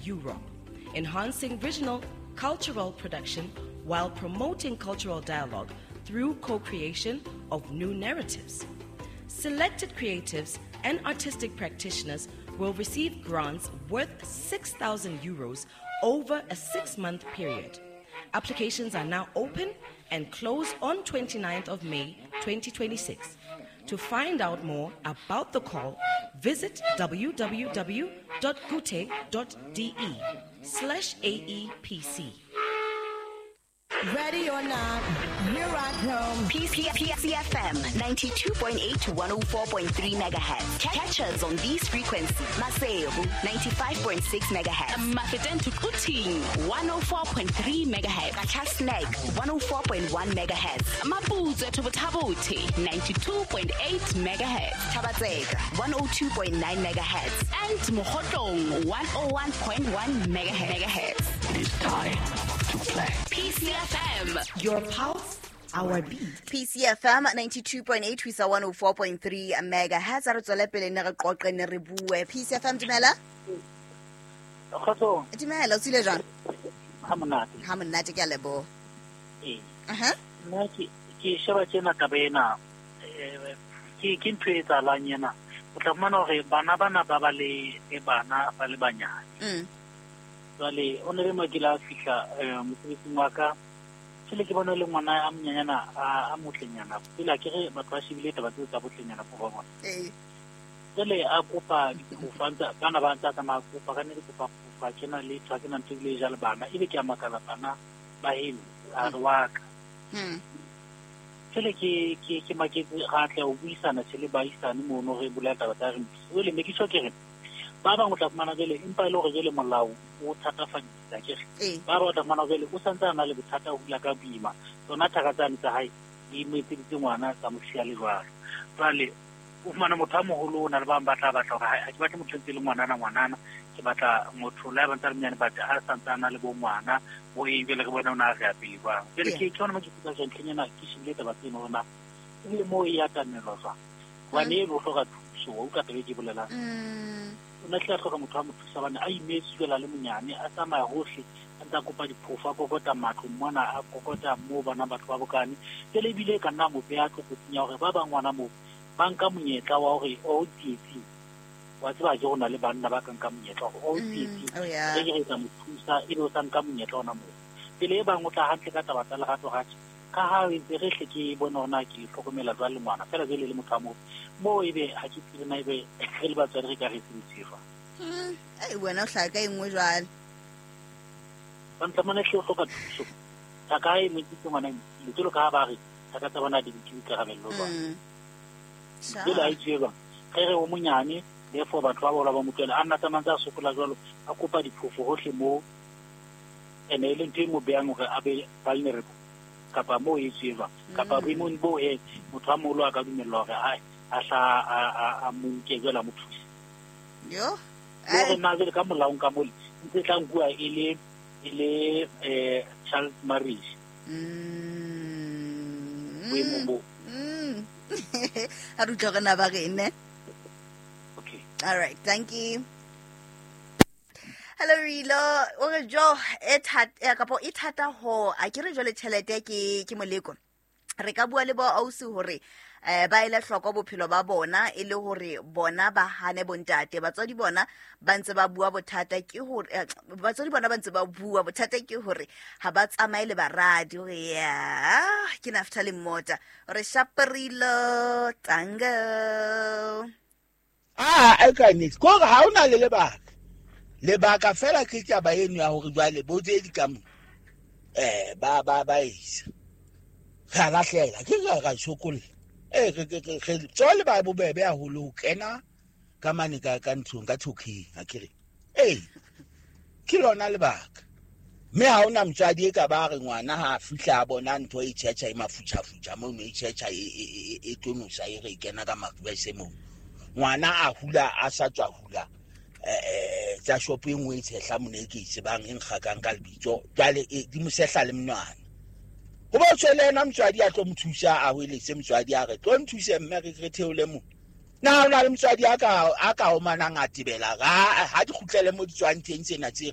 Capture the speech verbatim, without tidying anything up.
Europe, enhancing regional cultural production while promoting cultural dialogue through co-creation of new narratives. Selected creatives and artistic practitioners will receive grants worth six thousand euros over a six-month period. Applications are now open and close on twenty-ninth of May twenty twenty-six. To find out more about the call, visit w w w dot goethe dot de slash A E P C. Ready or not, here I come. P C F M ninety-two point eight to one oh four point three megahertz. Catch us on these frequencies. Maseru ninety-five point six megahertz. Mafeteng to Quthing one oh four point three megahertz. Qacha's Nek one oh four point one megahertz. Maputswe to Botha-Bothe ninety-two point eight megahertz. Thaba-Tseka one oh two point nine megahertz. And Mokhotlong one oh one point one megahertz. It is time to play. P C F M. Your pulse, our beat. P C F M ninety-two point eight ho isa one oh four point three megahertz. A re tswele pele ne re qoqe, ne re bue. P C F M, dumela. Kgotsong. Dumela, o tsile jwang? Ha monate. Ha monate, ke a leboha. Ee. Aha. Nna ke ke sheba tjena taba ena, eh, ke ke ntho e etsahalang ena. O tla fumana hore bana bana ba ba le le bana ba le banyane. Mm. Jwale o ne le mo ke la fihla eh, mosebetsing wa ka, jwale ke bona le ngwana a monyenyana, a a motlenyana. Pele a ke re batho ba shebile taba tseo tsa botlenyana bo ba bona. Ee. Jwale a kopa diphofa, ntse bana ba ntse a tsamaya kopa ka ne di kopa phofa tjena le tshwa ke na ntho ebile e ja le bana, ebe ke a makala, bana ba heno, a re wa ka. Mm. Jwale ke ke ke maketse ra tla ho buisana tjhe le baahisane mono, re bula taba tsa re jwale me ke tjho ke re ba bang o tla fumana jwale, empa e le hore jwale molao o thatafaditse akere. Ee. Ba bang o tla fumana jwale o santse a na le bothata ho hula ka boima, tsona thaka tsane tsa hae di mo etseditse ngwana, tsa mo siya le jwalo. Jwale o fumana motho a moholo o na le bang ba tla batla hore ha ke batle motho ntse le ngwanana ngwanana, ke batla motho le ha ba ntse a le monyane, but a santse a na le bo ngwana bo eng, jwale re bona o na a re ya pele jwang. Jwale Yeah. ke ke yona mo ke ikutlwa jwang ntlheng ena, ke shebile taba tseno hore na ebile moo e atamelwa jwang, hobane eno o hloka thuso, wa utlwa taba e ke bolelang? Mm. O ne tla hloka motho a mo thusa hobane a imetswe jwale, a le monyane, a tsamaya hohle, a ntse a kopa diphofo, a kokota matlo mona, a kokota moo bana batho ba bokane. Jwale ebile e ka nna mo beha tlokotsing ya hore ba bang ngwana moo ba nka monyetla wa hore o tsietsing, wa tseba ke ho na le banna ba ka nka monyetla hore o Mm. tsietsing, Oh yeah. re ke re tla mo thusa, ebe o sa nka monyetla ona moo. Pele e bang o tla hantle ka taba tsa lerato ratjhe, ka ha e ntse re hle ke bone hore na ke le hlokomela jwang le ngwana fela jwale le motho a moo moo, ebe ha ke tsebe na ebe re le batswadi re ka re sebedise jwang. Mm. Ei, wena o hlaka e nngwe jwale. Bantlamane hle o hloka thuso, thaka ha e mo etsitse ngwana e mosile jwalo ka ha ba re thaka tsa bona di nke boikarabello jwang. Mm. Jwale ha e tswe jwang ge re o monyane, therefore batho ba baholo ba mo tlohela a nna tsamaya ntse a sokola jwalo, a kopa diphofo hohle moo, ene e le ntho e mo behang hore a be vulnerable kapa moo e tswe jwang, kapa boemong boo he motho a moholo a ka dumellwa hore a a hla a a- a mo nke jwale a mo thuse. Yo. Le hore na jwale ka molaong ka mole ntse e tla nkuwa e le e le eh child marriage Mm. boemong boo? Mm. A re utlwe re na ba rene. Okay. All right, thank you. Hello Rilo, o re jo e thata kapo e thata ho a ke re jwale tjhelete ke ke moleko. Re ka bua le bo ausi hore eh ba ele hloko bophelo ba bona, e le hore bona ba hane bontate. Batswadi bona ba ntse ba bua, bothata ke hore eh, batswadi bona ba ntse ba bua, bothata ke hore ha ba tsamaye le baradi. Hore ya ke nafta le mmota re shaperilo tango. Ah, e ka nnete ke hore ha o na le lebaka, lebaka fela ke taba eno ya hore jwale bo tse di ka mo eh ba ba ba isa re a lahlela, ke re ra sokolla, eh re re re re tswale ba bobebe haholo ho kena ka mane ka ka nthong ka thokeng akere. Ee, ke lona lebaka, mme ha hona motswadi e ka ba re ngwana ha a fihla a bona ntho e tjhetjha, e mafutjhafutjha mono, e tjhetjha, e e e e tonosa, e re e kena ka maruese moo, ngwana a hula, a sa tswa hula eh tsa shopo e nngwe e tshehla mona e ke e tsebang, e nkgakang ka lebitso, jwale e di mo sehla le monwana, ho ba tshwele ena motswadi a tlo mo thusa, a hweletse motswadi a re tlo nthuse mme re re theole mo. Na ho na le motswadi a ka a ka omanang a tebela ha ha di kgutlele mo di tswang teng tsena tse?